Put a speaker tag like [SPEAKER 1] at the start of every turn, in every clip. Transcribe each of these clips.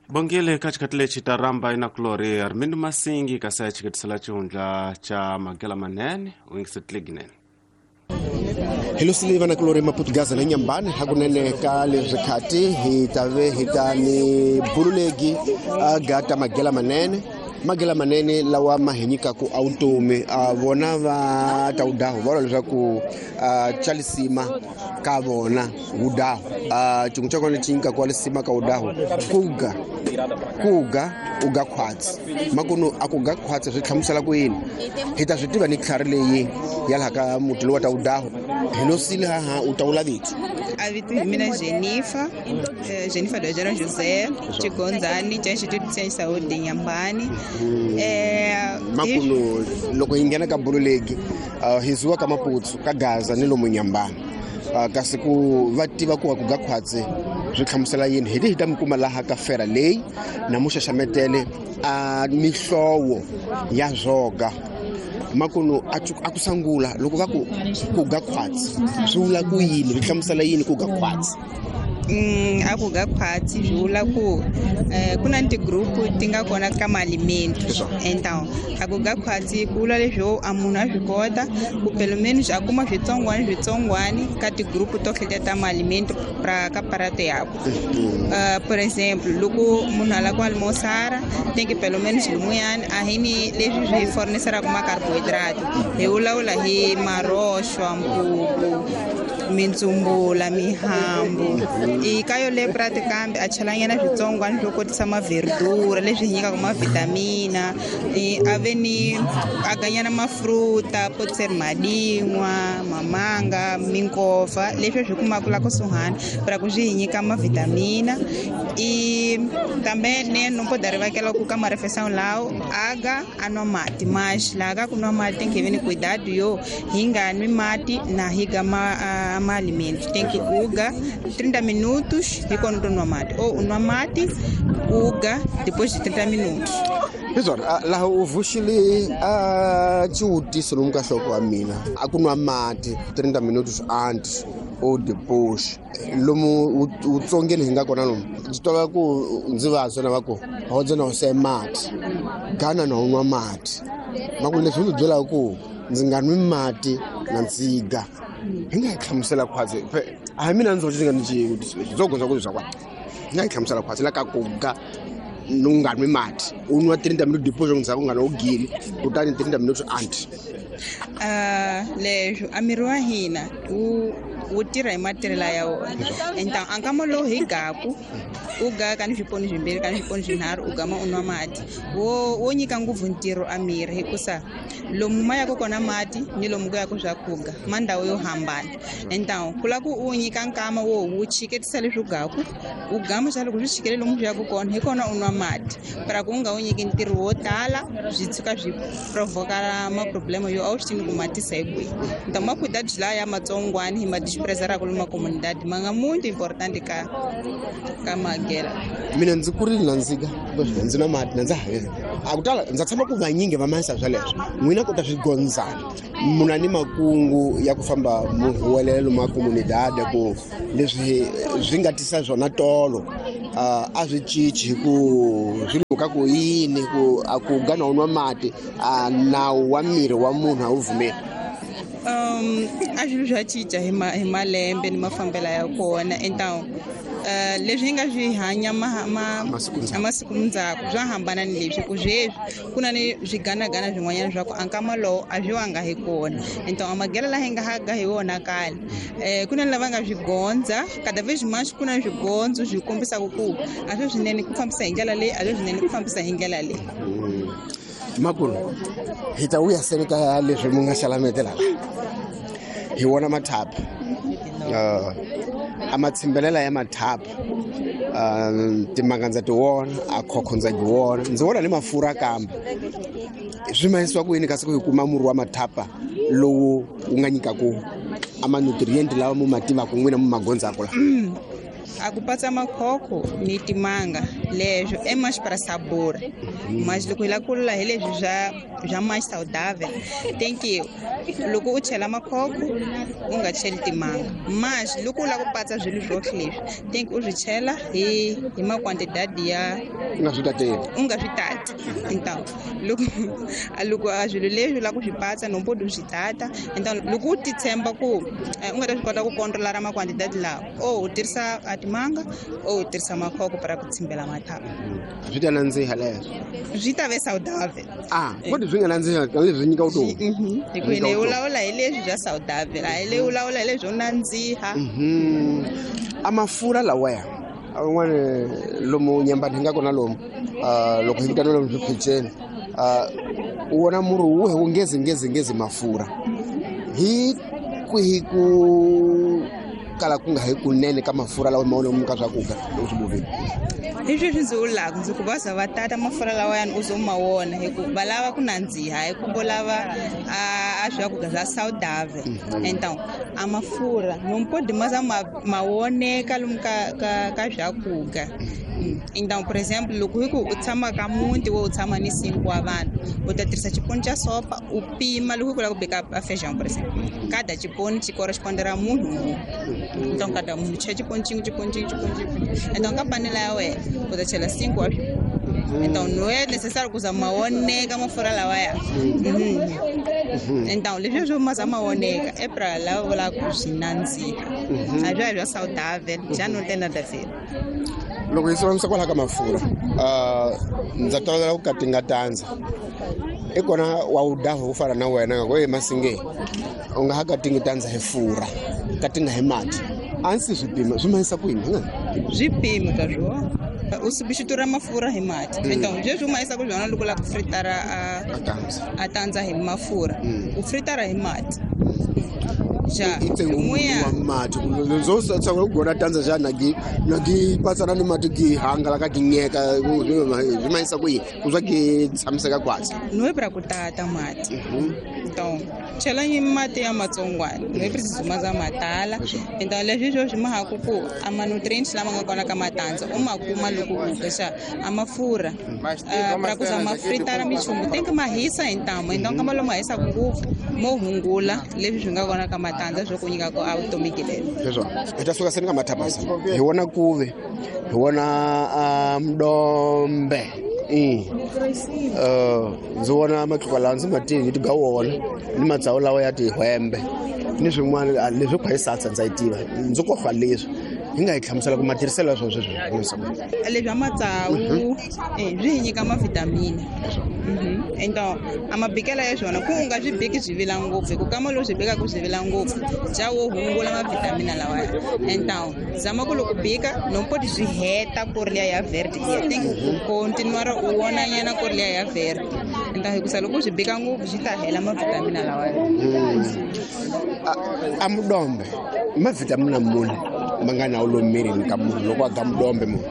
[SPEAKER 1] Bongile ka xikhathi lexi ta ramba inakulori Armindo Masingi kasi a xiketisela xihundla xa magela manene u yingisetile
[SPEAKER 2] Hi losile vanakulori Maputugaza na Nyambani hakunene ka leswi khati hi ta ve hi ta ni bululegi a gata magela manene magela manene lawa ma hi nyikaku a vutomi a vona va ta wudahu va vula leswaku a xa lisima ka vona wudahu a xin'we xa kona lexi nyikaku wa lisima ka wudahu kuga kuga u ga khwatsi makunu a ku ga khwatsi swi hlamusela ku yini hi ta swi tiva ni tlhari leyi ya laha ka muti lowu wa ta wudahu hi losile haha u ta wula vito.
[SPEAKER 3] A vito hi mina Jennifer, Jennifer Dojana José, Chigonzani, cha Instituto de Ciência e Saúde de Inhambane.
[SPEAKER 2] Makunu loko hi nghena ka bululegi hi zuwa ka Maputsu ka Gaza ni lomu Nyambani kasi ku va tiva ku wa ku ga khwatsi swi hlamusela yini hi hi ta mi kuma laha ka fera leyi na muxaxametele a mihlovo ya zwoga makunu a ku sangula loko va ku ku ga khwatsi swi vula ku yini swi hlamusela yini ku ga khwatsi?
[SPEAKER 3] A ku ga khwatsi swi vula ku ku na ti-group ti nga kona ka maalimento. Então a ku ga khwatsi ku vula leswo a munhu a swi kota ku pelo menos a kuma switsongwani switsongwani ka ti-group to hleta ta maalimento pra ka prato yakwe. Por exemplo, loko munhu a lava ku almoçar tem que pelo menos lumuyani a hi ni leswi swi forneceraka ma-carbohydrate hi vulavula hi maroxwa, mpupu, mintsumbula, mihambu. I ka yole prato kambe a chelanyana switsongwani swo kotisa maverdura leswi hi nyikaka mavitamina, a ve ni a ganyana mafruta, pode ser madin'wa, mamanga, minkova leswi swi kumaka la kusuhani para ku swi hi nyika mavitamina. I também né, não pode arrivar aquela ku ka marefeição lá aga a nwa mati, mas la ka ku nwa mati tem que ver cuidado yo hi nga nwi mati na hi ga ma ma alimento tem que uga 30 minutos hi kona u nwa mati ou nwa mati uga depois de 30 minutos.
[SPEAKER 2] Hi swona laha u vuxile a xivutiso lomu ka nhloko wa mina a ku nwa mati 30 minutos antes ou depois lomu wutsongeni hi nga kona lomu ndzi twa ku ndzi vabya na va ku hodze na hose mati gana na u nwa mati maku leswi ndzi byelaka ku ndzi nga nwi mati na ndziga hi nga hi hlamusela khwatsi a hi mina ndzi ndzi nga ni xivutiso lexi ndzo gondza ku swa kwa hi nga hi hlamusela khwatsi la ka ku ga u nga nwi mati u nwa 30 minutes depois ndzhaku u nga na u gili kutani 30 minutes anti.
[SPEAKER 3] Leswo a miri wa hina wu tirha hi matirhelo ya wona. Então a nkama lowu hi gaku u ga ka ni swiponi swimbirhi ka ni swiponi swinharhu u gama u nwa mati wo nyika ngopfu ntirho a miri hikusa lomu ma yaka kona mati ni lomu ku yaka swakudya ma ndhawu yo hambana. Então ku lava ku u nyika nkama wo wu chiketisa leswi u gaku u gama xa loko swi chikele lomu swi yaka kona hi kona u nwa mati para ku u nga wu nyiki ntirho wo tala swi tshuka swi provoka maproblema yo a wu swi tivi ku matisa hi kwihi. Então ma cuidado la ya matsongwani hi ma desprezaraka lomu comunidade ma nga muito importante ka ka magela.
[SPEAKER 2] Mina ndzi kurile na ndzika ndzi nwa mati na ndza ha a ku tala ndza tshama ku vanyingi va mahisa sweleswo n'wina kota swi gondzana muna ni makungu ya ku famba mu huwelela lomu a comunidade ku leswi swi nga tisa swona tolo a swi cinci hi ku swi luka ku yini ku a ku gana u nwa mati a nawu wa miri wa munhu a wu pfumeli.
[SPEAKER 3] A swilo swa cinca hi malembe ni mafambelo ya kona. Então leswi hi nga swi hanya masiku ndzhaku swa hambana ni leswi ku sweswi ku na ni swiganagana swin'wanyana swa ku a nkama lowu a swi wanga hi kona. Então a magela laha hi nga haga hi wona kale ku na lava nga swi gondza cada vez mais ku na swigondzo swi kombisaka ku a swi swinene ku fambisa hi ndlela leyi a swi swinene ku fambisa hi ndlela leyi.
[SPEAKER 2] Makulu hi ta vuya seni ka leswi mu nga xalametela la hi wona mathapa a matshimbelela ya mathapa timanga ndza ti vona a khokho ndza yi vona ndzi vona ni mafurha kambe swi mahisiwa ku yini kasi ku hi kuma murhi wa mathapa lowu wu nga nyikaku a ma-nutrient lawa mu ma tivaka n'wina mu ma gondzaka la?
[SPEAKER 3] A ku patsa makhokho ni timanga leswo é mais para sabor, mas loko hi lava ku lula hi leswi bya mais saudável, tem que loko u chela makhokho u nga cheli timanga, mas loko u lava ku patsa swilo swohle leswi tem que u swi chela hi maquantidade ya
[SPEAKER 2] u nga swi tateli,
[SPEAKER 3] u nga swi tati. Então loko a swilo leswi u lava ku swi patsa no pode u swi tata. Então loko u titshemba ku u nga ta swi kota ku controlar maquantidade lawa, ou u tirhisa a timanga ou u tirhisa makhokho para ku tshimbela mathavu.
[SPEAKER 2] Swi ta nandziha leswo,
[SPEAKER 3] swi ta ve saudável.
[SPEAKER 2] Kodwa swi nga nandziha leswi nyika vutomi.
[SPEAKER 3] Hi ku hina hi vulavula hi leswi bya saudável, a hi leyi vulavula hi leswi nandziha.
[SPEAKER 2] A mafurha lawaya un'wana lomu nyambani hi nga kona lomu, loko hi vitana lomu swiphicheni, u vona murhi wu wu ngezi ngezi ngezi mafurha hi kwihi ku kala ku nga hi kunene ka mafurha lawa ma lomu ka swakudya loko swi bovile?
[SPEAKER 3] Hi sweswi ndzi vulaka ndzi ku va za va tata mafurha lawayani u zo ma wona hi ku va lava ku nandziha, hi ku vo lava a swakudya swa saudável. Então a mafurha não pode mais ma woneka lomu ka swakudya. Então por exemplo, loko hi ku u tshama ka muti wo u tshama ni 5 wa vanhu, u ta tirhisa xiponi xa sopa u pima loko hi ku lava ku beka a feijão, por exemplo, cada xiponi xi correspondera munhu munhu. Então cada munhu chela xiponi xin'we xiponi xin'we xiponi xin'we. Então ka panela ya wena u ta chela 5 wa swiponi. Então não é necessário ku za ma woneka mafurha lawaya. Então leswi swo ma za ma woneka é pra lava vulaka ku swi nandziha, a bya bya saudável, já não tem nada a ver.
[SPEAKER 2] Loko hi sivanisa kwalaho ka mafurha, ndza tolovela ku katinga tandza. I kona wa wu daha ku fana na wena nga ku e Masinge u nga ha katingi tandza hi furha, katinga hi mati. A ndzi swi pima, swi mahisa ku yini?
[SPEAKER 3] Swi pima ka swona. U substituir mafurha hi mati. Então leswi u mahisa ku swona loko u lava ku fritara a tandza hi mafurha, u fritara hi mati. Ja,
[SPEAKER 2] wa mati ndzo tsakela ku gona tandza xa na gi patsana ni mati gi hangalaka gi nyeka, swi mahisa ku yini ku swa gi tshamiseka kwatsi?
[SPEAKER 3] No é pra ku tata mati. Então chela mati ya matsongwana, no é preciso ma za matala. Então leswi swo swi mahaku ku a ma-nutrients lama nga kona ka matandza u ma kuma loko u dya xa a mafurha. Pra ku za ma fritara minchumu tem que ma hisa hi ntamu. Então kama lomu ma hisaka ngopfu mo hungula leswi swi nga kona ka matandza swo ku nyika ku a vutomi gilelo.
[SPEAKER 2] Leswo hi ta suka seni ka mathapasa, hi vona kuve, hi vona mdombe, ndzi vona matluka lawa ndzi ma tivi ti ga wona ni matsawu lawa ya tihwembe ni swin'wana leswi khwa hi ndza yi tiva, ndzi kohlwa leswi hi nga hi hlamusela ku matirhiselo ya swona sweswi.
[SPEAKER 3] Leswi a matsawu swi hi nyika mavitamini. Então a mabikela ya swona ku u nga swi biki swi vila ngopfu, hi ku kama loko swi bikaka swi vila ngopfu ja wo hungula mavitamini lawaya. Então zama ku loko bika no pode swi heta ku ri liya ya verde liya, tem ku continuar u vona nyana ku ri liya ya verde. Então hikusa loko swi bika ngopfu swi ta hela mavitamini lawaya.
[SPEAKER 2] A mudombe mavitamini muni ma nga na wu mirini ka munhu loko a ga mudombe munhu?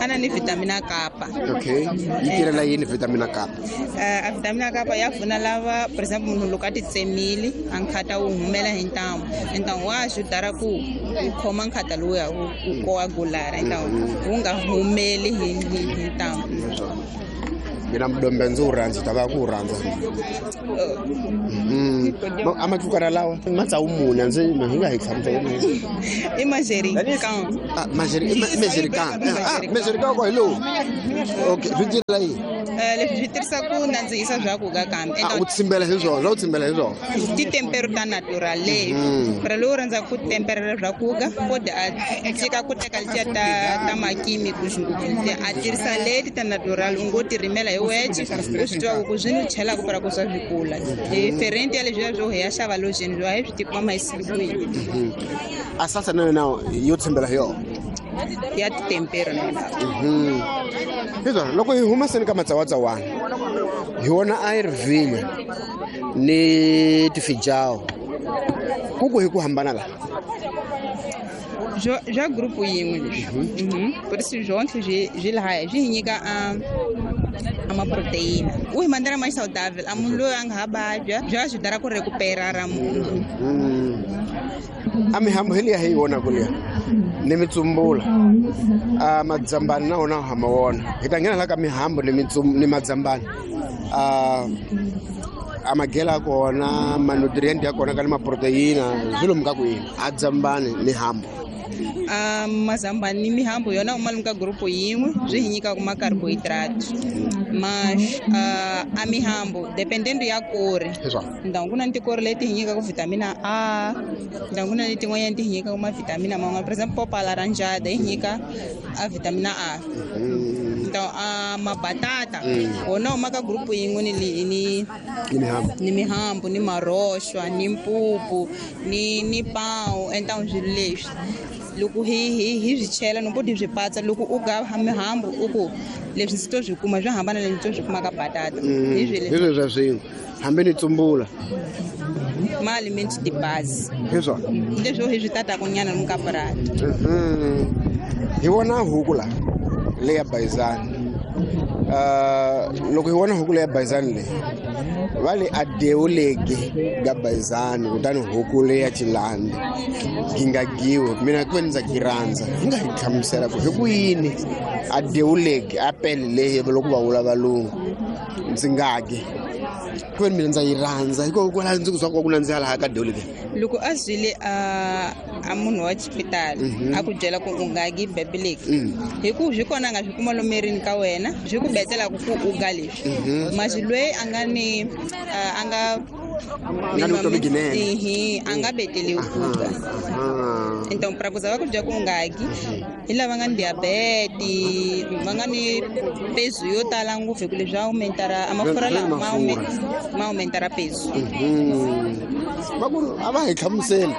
[SPEAKER 3] Ana ni vitamina kapa.
[SPEAKER 2] Okay, yi tirhela yini vitamina kapa?
[SPEAKER 3] A vitamina kapa ya pfuna lava, por exemple, munhu loko a titsemile a nkhata wu humela hi ntamu. Então wa ajudar ku u khoma nkhata lowuya wu coagular, então wu nga humeli hi ntamu.
[SPEAKER 2] Mina mudombe ndzi wu rhandza, ta va ku wu rhandza. A matlukana lawa matsawu muni a ndzi hi nga hi hlamusela.
[SPEAKER 3] I manjericão.
[SPEAKER 2] Manjericão. Manjericão ko hi lowu. Okay, swi tirhela yini?
[SPEAKER 3] Leswi swi tirhisa ku nandzihisa swakudya kambe.
[SPEAKER 2] U tsimbela hi swona, u tsimbela hi swona.
[SPEAKER 3] Titempero ta natural leyi. Pra lowu rhandzaka ku temperela swakudya, pode a tshika ku teka letiya ta makimiki ngopfu, a tirhisa leti ta natural, u ngo ti rimela hi wexe, u swi tiva ku swi ni chelaka para ku swa swi kula. Diferente ya leswiya swo hi ya xava lojeni swo a hi swi tikuma ma yisiwile.
[SPEAKER 2] A salsa na yona yo tshembela hi yona
[SPEAKER 3] ya titempero na yona.
[SPEAKER 2] Hiswona loko hi huma seni ka matsawatsawana hi vona a yi ri vhinyo ni tifijawu ku ku hi ku hambana la
[SPEAKER 3] bya group yin'we leswi. Por isso jonke swi lahaya swi hi nyika a maproteina. U hi mandela mais saudável, a munhu loyi a nga ha vabya bya swi dara ku recuperar ra munhu.
[SPEAKER 2] A mihambu hi liya hi yi vonaka liya ni mitsumbula, a madzambani na wona ha ma vona. Hi ta nghena la ka mihambu ni madzambani, a magela ya kona, manutrient ya kona ka ni maproteina swi lomu ka kwini a dzambani ni hambu?
[SPEAKER 3] A mazambani ni mihambu yona uma lomu ka gurupu yin'we, swi hi nyikaka ma-carbohydrate. Mas a mihambu dependendo ya kori. Então ku na tikori leti hi nyikaka vitamina A, então ku na letin'wanyana ti hi nyikaka mavitamina man'wana. For example, popa laranjada yi nyika a vitamina A. Então a mabatata wona uma ka gurupu yin'we ni
[SPEAKER 2] ni mihambu,
[SPEAKER 3] ni mihambu, ni maroxwa, ni mpupu, ni pão. Então swilo leswi loko hi swi chela no poti swi patsa, loko u ga mihambu u ku leswi ndzi to swi kuma swi hambana leswi ndzi to swi kuma ka batata.
[SPEAKER 2] Hi swilo swa swin'we hambi ni tsumbula
[SPEAKER 3] ma alimenti de base.
[SPEAKER 2] Hi swona
[SPEAKER 3] leswi hi swi tataka nyana lomu ka purasi.
[SPEAKER 2] Hi vona huku la leya bayizani. Loko hi vona huku leya bayizani leyi va le a dewuleki ga bayizani, kutani huku leya chilandi yi nga giwi. Mina ku ve ndza ki rhandza, hi nga hi hlamusela ku hi ku yini a dewuleki a pele leyi loko va vula valungu ndzi nga gi, ku ve mina ndza yi rhandza hikokwalaho ndzi ku swa ku nandziha laha ka dewuleki?
[SPEAKER 3] Loko a zwile a munhu wa xipitali a ku byela ku u nga gi bebeleki, hi ku swi kona a nga swi kuma lomerini ka wena, swi ku betelaka ku u ga leswi. Masi loyi a nga ni a nga a nga beteliwi ku ga. Então pra ku za va ku byela ku u nga gi hi lava nga ni diabete, va nga ni peso yo tala ngopfu, hi ku leswi aumentara a mafurha lama ma aumentara peso.
[SPEAKER 2] Va ku a va hi hlamuseli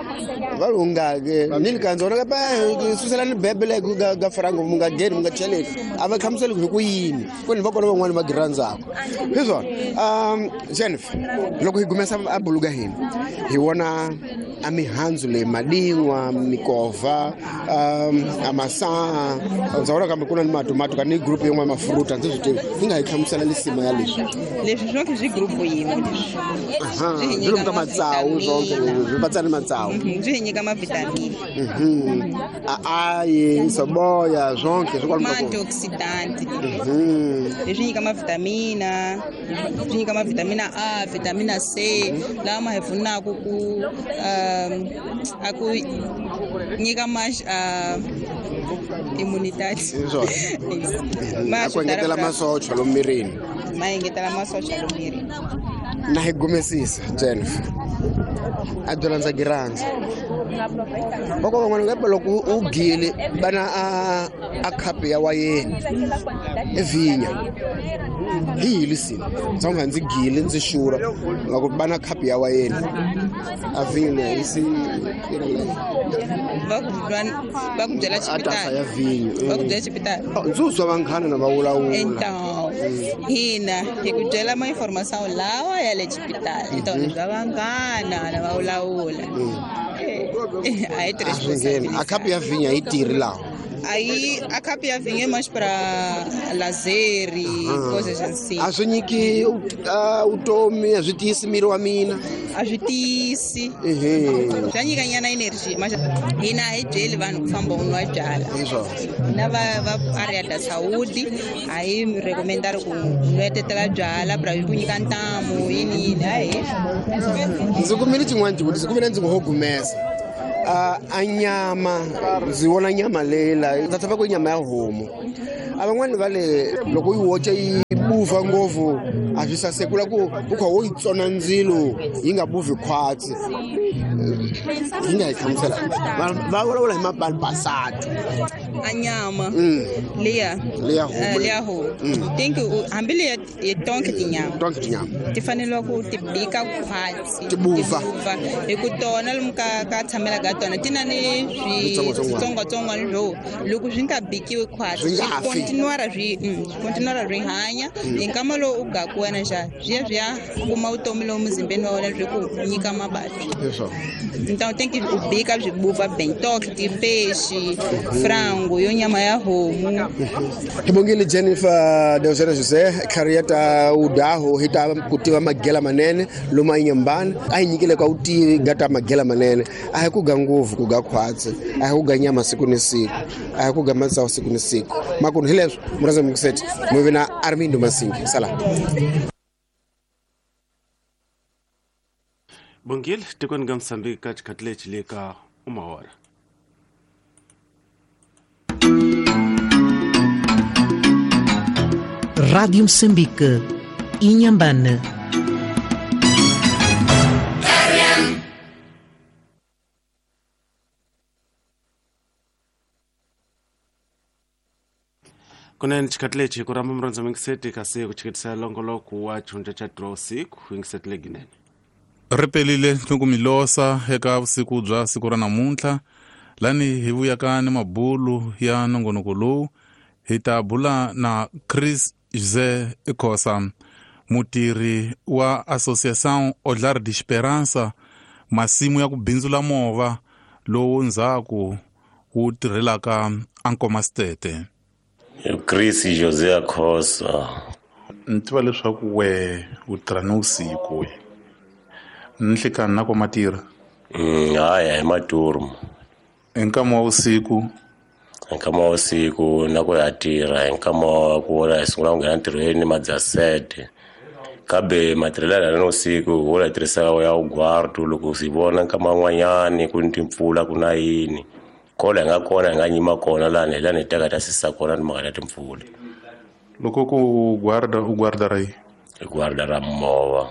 [SPEAKER 2] va ri u nga ke ni li kandza wona ka susela ni bebele ga frango mu nga geni mu nga cheleki, a va hlamuseli hi ku yini ku ni va kona van'wani va gi rhandzaka. Hi swona. Jennifer, loko hi gumesa a buluka hina hi vona a mihandzu leyi, madin'wa, mikova, a masaha, ndza vona kambe ku na ni matomato ka ni group yin'wana mafruta, ndzi swi tivi. Hi nga hi hlamusela lisima ya leswi?
[SPEAKER 3] Leswi swonke swi group yin'we leswi.
[SPEAKER 2] Swi lomu ka matsawu swonke swi patsa ni matsawu.
[SPEAKER 3] Swi hi nyika mavitamini.
[SPEAKER 2] A ayi soboya swonke swi kwalomu ka
[SPEAKER 3] Ma-antioxidant. Leswi nyika mavitamina, swi nyika mavitamina A, vitamina C, lawa ma hi pfunaka ku a ku nyika ma immunidade.
[SPEAKER 2] A ku engetela masocha lomu mirini.
[SPEAKER 3] Ma engetela masocha lomu mirini.
[SPEAKER 2] Na hi gumesisa Jennifer, a byela ndza gi rhandza. Va ku van'wana nga loko u gile vana a khapu ya wayeni e vhinya hi hilisini ndza nga ndzi gile ndzi xura nga ku vana khapu ya wayeni a vhinya hi si
[SPEAKER 3] va ku byela
[SPEAKER 2] a tasa ya vhinyo
[SPEAKER 3] va ku byela xipitali.
[SPEAKER 2] Ndzi uzwa vanghana na va vulavula.
[SPEAKER 3] Então hina hi ku byela ma informação lawa ya le xipitali. Então leswi va vanghana na va vulavula a hi
[SPEAKER 2] a swi ngheni. A khapu ya vhinya yi tirhi laha?
[SPEAKER 3] Aí a khapu ya vinho é mais para lazer e coisas assim.
[SPEAKER 2] A swi nyiki vutomi, a swi tiyisi miri wa mina?
[SPEAKER 3] A swi tiyisi. Swa nyika nyana energy, mas hina a hi byeli vanhu ku famba u nwa byala. Hina va area da saúde a hi recomendar ku nwetetela byala pra ku nyika ntamu yini yini a hi.
[SPEAKER 2] Ndzi kumile xin'wana xivutiso, ku vile ndzi ngo ho gumesa. A nyama ndzi vona nyama leyi la ndza tshemba ku nyama ya homu. A van'wani va le loko yi woce yi buva ngopfu a swi saseki la ku u kha wo yi tsona ndzilo yi nga buvi khwatsi. Yi nga hi hlamusela va vulavula hi mapalipasati.
[SPEAKER 3] A nyama leya leya homu think hambi leya tonke tinyama,
[SPEAKER 2] tonke tinyama
[SPEAKER 3] ti fanele ku ti bika khwatsi,
[SPEAKER 2] ti buva
[SPEAKER 3] hi ku tona lomu ka tshamela ka tona ti na ni switsongwatsongwana swo loko swi nga bikiwi khwatsi swi continuara swi hanya hi nkama lowu u gaku wena njhani swi ya swi ya kuma vutomi lowu muzimbeni wa wena byi ku nyika mavabyi. Então tem que u bika byi buva bem, toque ti peixe, frango, yo nyama ya homu.
[SPEAKER 2] Hi bongile Jennifer Deusera José, career gata udaho hita kutiva magela manene loma inyambana a hi nyikile ka utivi gata magela manene a hi ku ga nguvu ku ga khwatsi a hi ku ga nyama siku ni siku a hi ku ga matsawu siku ni siku makunu hi leswo muraza mukuseti muvi na Armindo Masingi sala
[SPEAKER 1] Bongile tikweni ga Mozambique ka xikhathi lexi le ka umahora.
[SPEAKER 4] Rádio Moçambique, Inhambane.
[SPEAKER 1] Kunene xikhathi lexi ku rhamba murhandza mingiseti kasi ku chiketisa longoloko wa xihundla xa 3 usiku yingiseti leginene.
[SPEAKER 5] Ri pelile ni ku milosa eka vusiku bya siku ra namuntlha lani hi vuyaka ni mabulu ya nongonoko lowu hi ta bula na Chris José Khosa mutirhi wa Associação Olhar de Esperança masimu ya ku bindzula movha lowu ndzhaku wu tirhelaka Ankomasitete.
[SPEAKER 6] Chris José Khosa
[SPEAKER 5] ni tiva leswaku we u tirha ni vusiku we nhlikani na ko tirha
[SPEAKER 6] haya hi maturmu
[SPEAKER 5] hi nkama wa vusiku
[SPEAKER 6] hi nkama wa vusiku na ku ya tirha hi nkama wa ku vona hi sungula ku nghena ntirhweni madzasete kambe matirhelo ya ni usiku wo la tirhisa ya ugwardu loko si vona nkama wan'wanyani ku ni timpfula ku na yini kola hi nga kona hi nga nyima kona lani hi lani hi teka ta sisa kona ni mhaka ta timpfula
[SPEAKER 5] loko ku guarda u guarda ra yi
[SPEAKER 6] hi guarda ra movha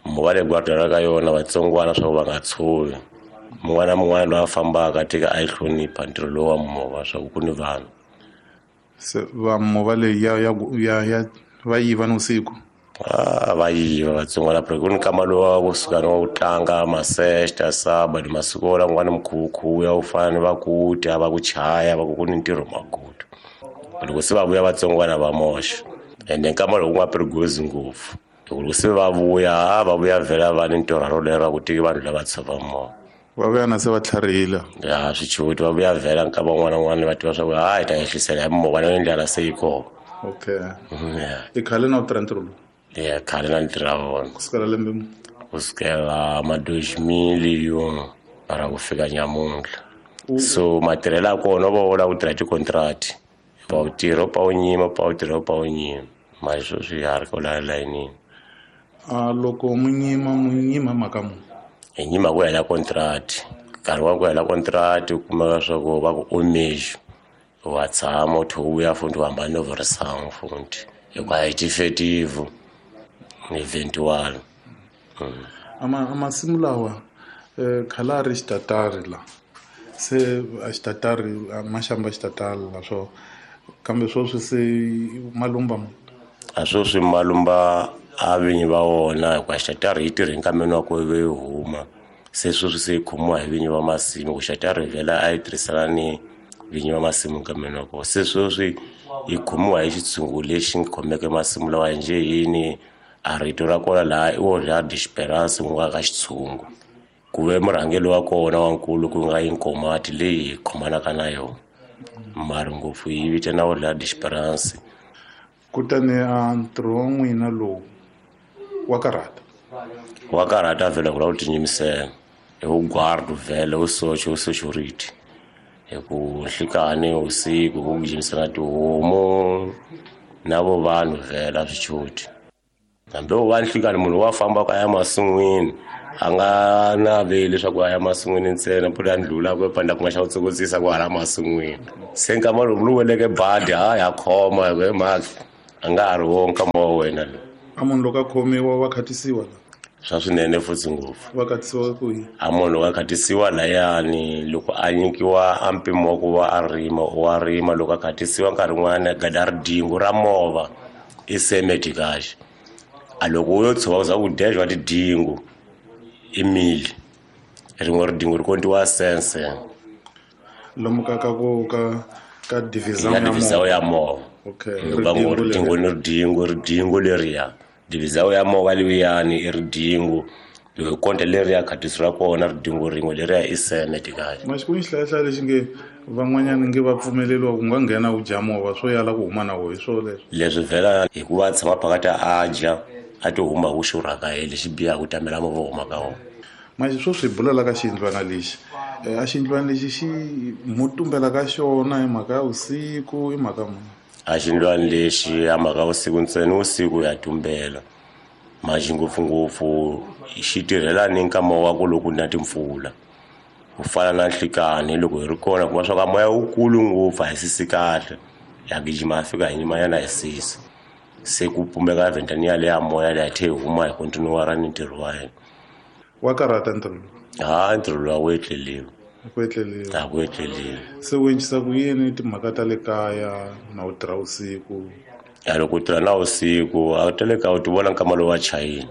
[SPEAKER 6] movha leyi guarda ra ka yona vatsongwana swa ku va nga tshovi mun'wana na mun'wana loyi a fambaka tika a yi hlonipha ntirho lowu wa movha swa ku ku ni vanhu
[SPEAKER 5] se va movha leyi ya ya ya ya va yiva ni usiku
[SPEAKER 6] a va yiva vatsongwana ku ni nkama lowa kusuka ni wa ku tlanga masexta sabado masiku lawa n'wana mikhukhu ya ku fana ni va ku tya va ku chaya va ku ku ni ntirho magudu loko se va vuya vatsongwana va moxa ende nkama lowu ku nga perigozi ngopfu loko se va vuya va vuya vhela va ni ntirho rolero ku tiki vanhu lava tshova movha
[SPEAKER 5] va vuya na se va tlharihile
[SPEAKER 6] ya swichuti va vuya vhela nkama wun'wana na wun'wana va tiva swa ku hayi ta ehlisela hi movha na ndlela se yi kona
[SPEAKER 5] okay i khale na u tirha ntirho lowu
[SPEAKER 6] ya khale na ntirha vona
[SPEAKER 5] kusukela lembe mu
[SPEAKER 6] kusukela ma 2000 mara ku fika nyamuntlha so matirhelo ya kona va vula ku tirha tikontrati pa u tirha pa u nyima pa u tirha pa u nyima mali sweswi ya ri ko la layinini
[SPEAKER 5] a loko munyima mhaka mu
[SPEAKER 6] hi nyima ku hela contract nkarhi wa ku hela contract u kumeka swa ku va ku omejo wa tshama u tlhe u vuya futhi u hambana no vurisangu futhi hikuva hi tifetivu ni eventual
[SPEAKER 5] ama masimu lawa khale a ri xitatari la se a xitatari maxamba xitatari la swo kambe sweswi se malumba
[SPEAKER 6] a sweswi malumba a vinyi va wona hikuva xitatari yi tirhe nkameni wa ku yi huma se sweswi se yi khomiwa hi vinyi va masimu ku xitatari vhela a yi tirhisana ni vinyi va masimu nkameni wa kona se sweswi yi khomiwa hi xitshungu lexi khomeke masimu lawa njhe yini a rito ra kona laha i Olhar de Esperança ku nga ka xitshungu ku ve murhangeri wa kona wa nkulu ku nga Inkomati leyi hi khomanaka na yona mara ngopfu yi vitana Olhar de Esperança
[SPEAKER 5] kutani a ntirho wa n'wina lowu wa karhata
[SPEAKER 6] wa karhata vhela ku lava ku tinyimisela hi vugwardu vhele wu socha wu security hi ku nhlikani usiku ku gijimisana tihomu na vo vanhu vhela swichuti hambi wo va nhlikani munhu wa fambaka a ya masin'wini a nga naveli leswaku a ya masin'wini ntsena mpfula ya ndlula ku panda ku nga xa ku tsokotsisa ku hala masin'wini se nkama lowu lowu weleke badi ha ya khoma hi ku hi mhaka a nga ha ri wo nkama wa wena lowu
[SPEAKER 5] a munhu loko a khomiwa wa khatisiwa la
[SPEAKER 6] swa swinene futhi ngopfu
[SPEAKER 5] va khatisiwa ku yini
[SPEAKER 6] a munhu loko a khatisiwa layani loko a nyikiwa a mpimo wa ku va a rima wa rima loko a khatisiwa nkarhi wun'wana gada ridingo ra movha i semeti kahle a loko u yo tshova ku za ku dejwa tidingo i mili rin'we ridingo ri kontiwa sense
[SPEAKER 5] lomu ka ka ku ka ka divisão
[SPEAKER 6] ya divisão ya movha
[SPEAKER 5] okay
[SPEAKER 6] va ngo ridingo ni ridingo ridingo leriya divisão ya movha liyani i ridingo loko konta leriya khatiso ra kona ridingo rin'we leriya i semeti kahle
[SPEAKER 5] maxikuni xihlayahlaya lexi nge Van'wanyana nge va pfumeleriwa ku nga nghena u dya mova swo yala ku huma na wo hi swo leswi.
[SPEAKER 6] Leswi vhela hikuva a tshama phakathi a dya a ti huma ku xurhaka hi lexi biha ku tamela movha huma ka wona.
[SPEAKER 5] Manje swo swi bulela ka xiyindlwana lexi a xiyindlwana lexi xi mo tumbela ka xona hi mhaka ya vusiku i mhaka muni?
[SPEAKER 6] A xiyindlwana lexi a mhaka vusiku ntsena vusiku ya tumbela manje ngopfungopfu xi tirhela ni nkama wa ku loko na timpfula ku fana na nhlikani loko hi ri kona kuma swa ka moya wukulu ngopfu a hi sisi kahle ya gijima a fika hi nyimanyana hi sisa se ku pumbeka vhentani yale ya moya leyi a tlhe hi huma hi kontinuwara ni ntirho wa hina.
[SPEAKER 5] Wa karhata ntirho lowu?
[SPEAKER 6] Ha ntirho lowu a wu etleliwi.
[SPEAKER 5] A ku etleliwi.
[SPEAKER 6] A ku etleliwi.
[SPEAKER 5] Se u endlisa ku yini timhaka ta le kaya na u tirha vusiku?
[SPEAKER 6] Ya loko u tirha na vusiku a ta le kaya u ti vona nkama lowu wa chayile.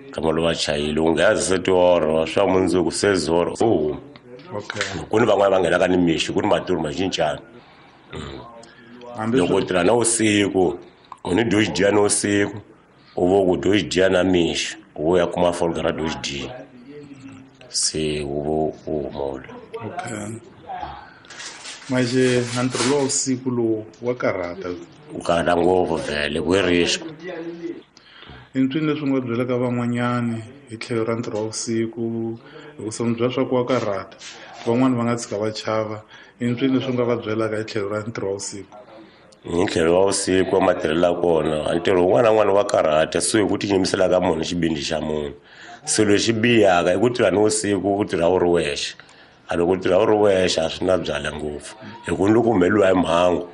[SPEAKER 6] Nkama lowu wa chayile u nghena se tioro swa mundzuku se zoro u huma.
[SPEAKER 5] Okay.
[SPEAKER 6] Ku ni van'wana va nghenaka ni mixo ku ni matirho ma cincana. Loko u tirha na vusiku u ni dyo xidya na vusiku u vo ku dyo xidya na mixo u ya kuma folga ra dyo xidya se u vo u humula.
[SPEAKER 5] Okay. Manje a ntirho lowa vusiku lowu wa karhata.
[SPEAKER 6] U karhata ngopfu vhele ku i risk.
[SPEAKER 5] I ntwini leswi nga byelaka van'wanyani hi tlhelo ra ntirho wa vusiku hikusa mi byela swa ku wa karhata van'wani va nga tshika va chava i ntwini leswi nga va byelaka hi tlhelo ra ntirho wa vusiku?
[SPEAKER 6] Hi tlhelo wa vusiku wa matirhelo ya kona a ntirho wun'wana na wun'wana wa karhata so hi ku tinyimisela ka munhu xibindi xa munhu se lexi bihaka i ku tirha ni vusiku u tirha u ri wexe a loko u tirha u ri wexe a swi na byala ngopfu hi ku ni loko humeleriwa hi mhangu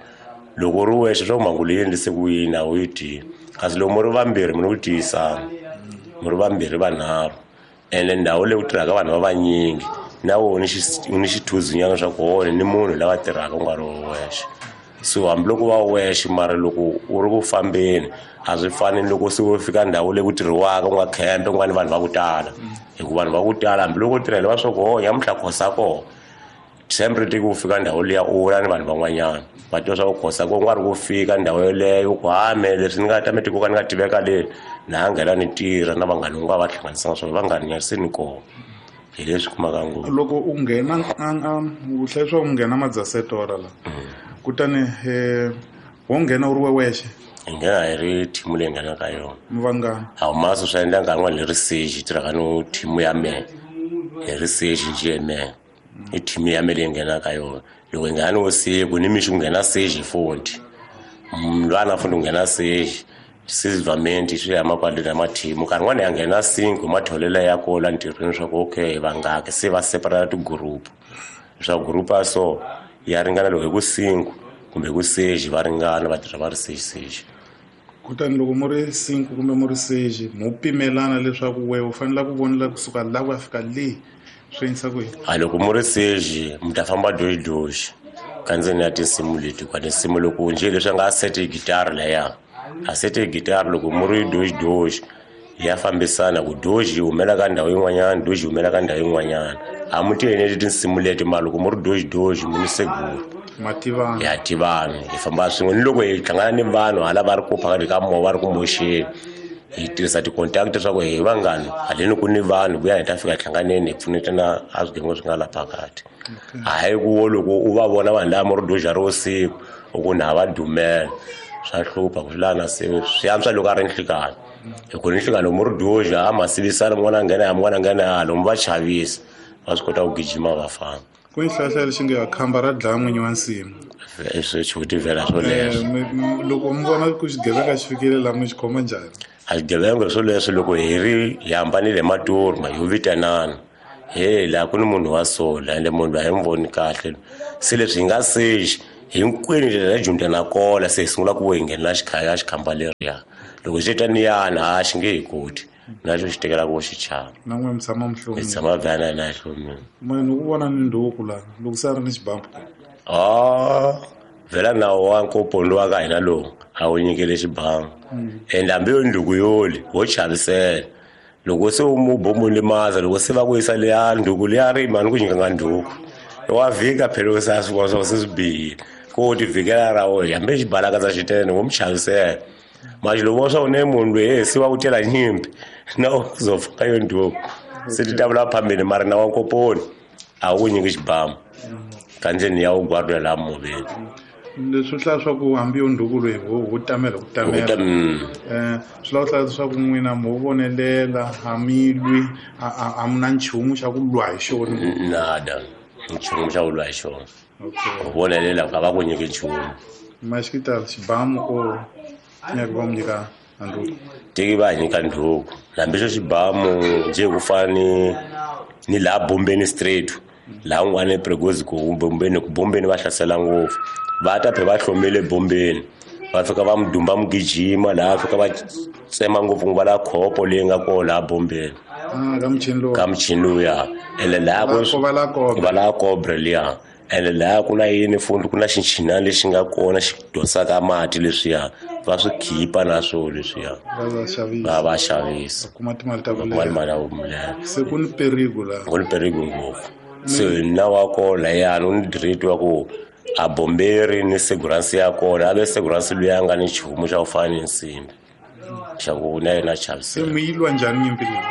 [SPEAKER 6] loko u ri wexe swa ku mhangu leyi endlise ku yini a wu yi tivi kasi loko mu ri vambirhi mi ni ku tiyisana mu ri vambirhi vanharhu ene ndhawu leyi ku tirhaka vanhu va vanyingi na wona ni xithuzinyana swa ku hone ni munhu lava tirhaka u nga ri wexe so hambiloko va wexe mara loko u ri ku fambeni a swi fani ni loko se u fika ndhawu leyi ku tirhiwaka u nga khempe ku nga ni vanhu va ku tala hikuva vanhu va ku tala hambiloko u tirhela va swa ku ho nyamuhla khosa kona sempre tiki u fika ndhawu liya u vula ni vanhu van'wanyana va tiva swa ku khosa ko nga ri ku fika ndhawu yoleyo ku hame leswi ni nga ta mi tikoka ni nga tiveka le na nghena ni tirha na vanghani u nga va hlanganisanga swona vanghani se ni kona hi leswi kumaka ngopfu.
[SPEAKER 5] Loko u nghena u hlaya swa ku nghena madzasetora la kutani wo nghena u ri wexe?
[SPEAKER 6] Hi nghena hi ri thimu leyi nghenaka yona.
[SPEAKER 5] Mi vangani?
[SPEAKER 6] A humasi swi endla nkarhi wun'wani hi ri seji tirhaka no thimu ya mehe hi ri seji njhe mehe i thimu ya mehe leyi nghenaka yona loko hi nghena ni vusiku ni mixo ku nghena seji futhi mlwana futhi ku nghena seji sivamenti swi ya makwaleni ya mathimu nkarhi wun'wani ya nghena cinco matholelo ya kola ntirhweni swa ku okay vangaki se va separata tigroup leswaku group ya so ya ringana loko hi ku cinco kumbe hi ku seji va ringana va tirha va ri seji seji.
[SPEAKER 5] Kutani loko mu ri cinco kumbe mu ri seji mo pimelana leswaku we u fanele ku vonela kusuka la ku ya fika le swi endlisa ku yini?
[SPEAKER 6] A loko mu ri seji mi ta famba doxidoxi ka ndzeni ya tinsimu leti kwa tinsimu loko njhe leswi a nga sete gitara leya a sete gitara loko mu ri doxidoxi ya fambisana ku doxi yi humela ka ndhawu yin'wanyana doxi yi humela ka ndhawu yin'wanyana a mu ti eneli tinsimu leti mara loko mu ri doxidoxi mu ni seguru
[SPEAKER 5] mativana
[SPEAKER 6] ya tivana hi famba swin'we ni loko hi hlangana ni vanhu hala va ri ku phakathi ka moya va ri ku moxeni hi tirhisa ti-contact leswaku hi vangani haleni ku ni vanhu vuya hi ta fika hi hlanganeni hi pfunetana a swigevenga swi nga la phakathi hayi ku wo loko u va vona vanhu lava mu ri doxa ri vusiku u ku na va dumela swa hlupha ku swi lava na se swi antswa loko a ri nhlikani hi ku ni nhlikani loko mu ri doxa a ma sivisana mun'wana a nghena ya mun'wana a nghena yalo mi va chavisa va swi kota ku gijima va famba.
[SPEAKER 5] Ku ni xihlahla lexi nge khamba ra dlaya n'winyi wa nsimu.
[SPEAKER 6] Swi xivutivela swo leswo.
[SPEAKER 5] Loko mi vona ku xigevenga xi fikile laha mi xi khoma njhani?
[SPEAKER 6] A xigevenga swo leswo loko hi ri hi hambanile hi maturu ma ho vitanana he laha ku ni munhu wa so la ende munhu loyi a hi n'wi voni kahle se leswi hi nga sexi hinkwenu ndlela ya dyondza na kola se hi sungula ku hi nghenela xikhaya xikhamba leriya loko xi ta niyana ha xi nge hi koti na xo xi tekela ku xi chava
[SPEAKER 5] na n'we mi tshama mi hlomile
[SPEAKER 6] hi tshama vana na hlomile
[SPEAKER 5] munhu ku vona ni nduku la loko se a ri ni xibambu
[SPEAKER 6] a vhela nawu wa nkopondo wa ka hina lowu a wu nyikele xibamu ende hambi yo nduku yoli wo chavisela loko se u mu bomu limaza loko se va ku yisa leya nduku leya ri mani ku nyikanga nduku wa vhika phela u sa swi vona swa ku se swi bihile ko ti vhikela ra wena hambi xibalakatsa xitene wo mu chavisela manje loko swa ku ne munhu loyi he se wa ku tela nyimpi na u zofaka yo nduku se ti ta vula phambili mara na wa nkoponi a wu nyiki xibamu. Xikandzeni ya wu guardiwa laha movheni.
[SPEAKER 5] Leswi hlaya swa ku hambi yo ndhuku loyi wo tamela ku tamela swi lava hlaya leswaku n'wina mo vonelela a mi lwi a mi na nchumu xa ku lwa hi xona.
[SPEAKER 6] Nada nchumu xa ku lwa hi xona. U vonelela ka va ku nyiki nchumu.
[SPEAKER 5] Maxikitala xibamu o nyaka va mu nyika ndhuku.
[SPEAKER 6] Tiki va nyika ndhuku hambi xo xibamu njhe ku fana ni laha Bombeni straight laha un'wana ePregozi ku Bombeni ku Bombeni va hlasela ngopfu. Va ta phe va hlomile Bombeni va fika va mudumba mugijima laha fika va tsema ngopfu va la khopo leyi nga kona laha Bombeni. Ka muchini lowuya ene laha va la kobre liya ene laha ku na yini fundi ku na xinchinana lexi nga kona xi dosaka mati leswiya va swi khipa na swo leswiya va xavisa
[SPEAKER 5] kuma timali ta
[SPEAKER 6] ku leha.
[SPEAKER 5] Se ku ni perigo la
[SPEAKER 6] ku ni perigo ngopfu. Se na wa kona yani u ni direct wa ku a bomberi ni seguransi ya kona a ve seguransi luya nga ni nchumu xa ku fana ni nsimbi xa ku na yena chavisela.
[SPEAKER 5] Se mi yi lwa njhani nyimpi leyi?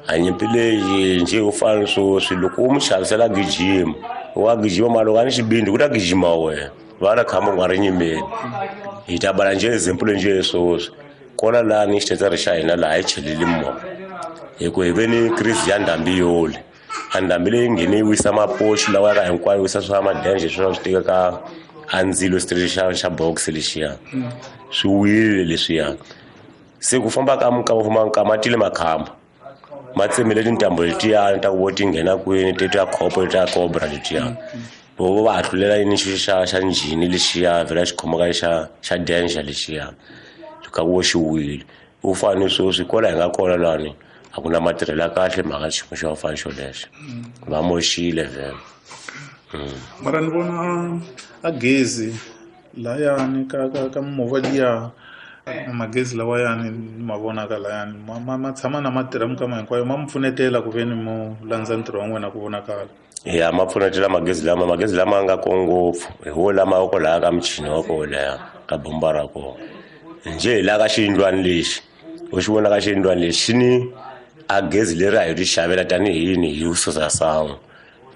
[SPEAKER 6] A nyimpi leyi njhe ku fana sweswi loko u mu xavisela gijima wa gijima mali loko a ni xibindi ku ta gijima wena va na khamba u nga ri nyimeni. Hi ta bala njhe example njhe sweswi kona laha ni xitetsari xa hina laha hi cheleli movha hi ku hi ve ni crise ya ndhambi yole. A ndhambi leyi nghene yi wisa mapoxi lawa ya ka hinkwayo wisa swa madenje swi swi tika a ndzilo street xa box lexiya swi wile leswiya. Se ku famba ka mukama ka matile makhamba ma tsemile tintambo letiya ta ku vo ti nghena kwini ti ta khopo ta cobra letiya vo va hlulela yini xi xa njhini lexiya vhela xi khomaka xa danger lexiya ka ku vo xi wile. U fane sweswi kwala hi nga kona lani a ku na matirhelo ya kahle mhaka xiyimo xa fana xolexo va moxile vhele.
[SPEAKER 5] Mara ni vona a gezi layani ka mimovha liya magezi lawayani ni ma vonaka layani ma tshama na ma tirha minkama hinkwayo ma mi pfunetela ku ve ni mo landza ntirho wa n'wina ku vonakala.
[SPEAKER 6] Ya ma pfunetela magezi lama nga ko ngopfu hi wo lama wa ko laha ka muchini wa ko leha ka bomba ra kona njhe hi laha ka xiyindlwana lexi u xi vona ka xiyindlwana lexi xi ni a gezi leri a hi ri xavela tanihi yini hi susa sangu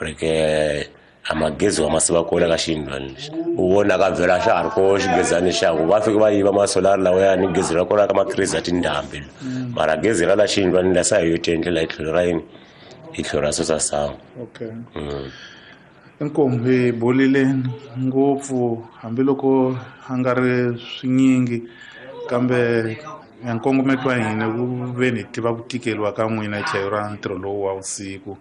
[SPEAKER 6] reke a magezi wa masiva kona ka xiyindlwana lexi u vonaka vhela xa ha ri ko xigezani xa ku va fika va yiva masolari lawa ni gezi ra kona ka makhirizi ya tindhambi mara gezi ra la xiyindlwana la sa hi yo tiendlela hi tlhelo ra yini hi tlhelo ra susa sangu.
[SPEAKER 5] Okay. Inkomu hi bolile ngopfu hambiloko a nga ri swinyingi kambe nkongometo wa hina ku ve ni tiva ku tikeliwa ka n'wina hi tlhelo ra ntirho lowu wa vusiku.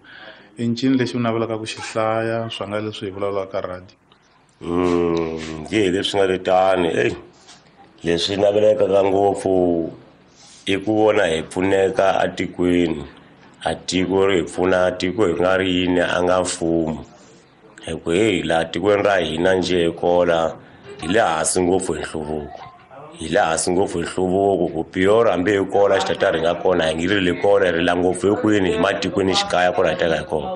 [SPEAKER 5] I ncini lexi u navelaka ku xi hlaya swa nga leswi hi vulavulaka radio?
[SPEAKER 6] Nge hi leswi nga le tani leswi navelekaka ngopfu i ku vona hi pfuneka atikweni a tiko ri hi pfuna tiko hi nga ri yini a nga mfumo hi ku heyi laha tikweni ra hina njhe hi kola hi le hansi ngopfu hi nhluvuko. Hi le hansi ngopfu hi nhluvuko ku piyoro hambi hi kola xitatari hi nga kona hi ngi ri kona hi rila ngopfu hi kwini hi matikweni xikaya kona hi teka hi kona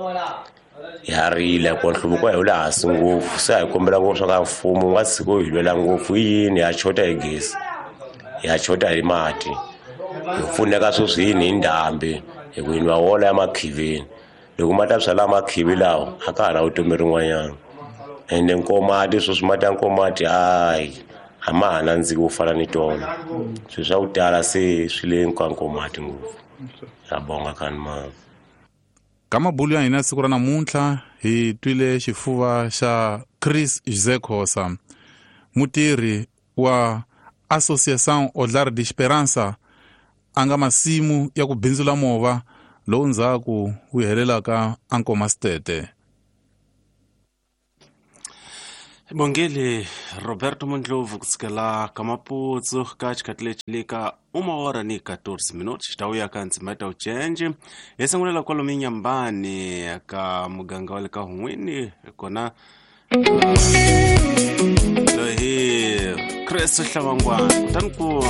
[SPEAKER 6] ya rila ku nhluvuko hi le hansi ngopfu. Se hi kombela ngopfu swa ka mfumo wu nga tshiki hi lwela ngopfu hi yini ya chota hi gezi ya chota hi mati hi pfuneka sweswi yini hi ndhambi hi ku hi nwa wola ya makhivini loko ma ta byala makhivi lawa a ka ha na vutomi rin'wanyana ende nkomati sweswi mati ya nkomati hayi a ma ha nandziki wo fana ni tona swilo swa ku tala se swi le ka nkomati ngopfu. Ya bonga khani mama.
[SPEAKER 5] Ka mabulu ya hina siku ra namuntlha hi twile xifuva xa Chris Jose mutirhi wa Associação Olhar de Esperança a nga masimu ya ku bindzula movha lowu ndzhaku wu helelaka ankomastete.
[SPEAKER 1] Bongele Roberto Mondlovu kusukela ka Maputsu ka xikhathi lexi le ka 1 ni 14 minutos xi ta vuya ka ndzima ta uchenje hi sungulela kwalomu Inhambane ka muganga wa le ka Hun'wini kona loyi hi Chris Hlavangwana kutani ku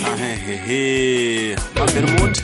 [SPEAKER 1] ahehehe Mabermut.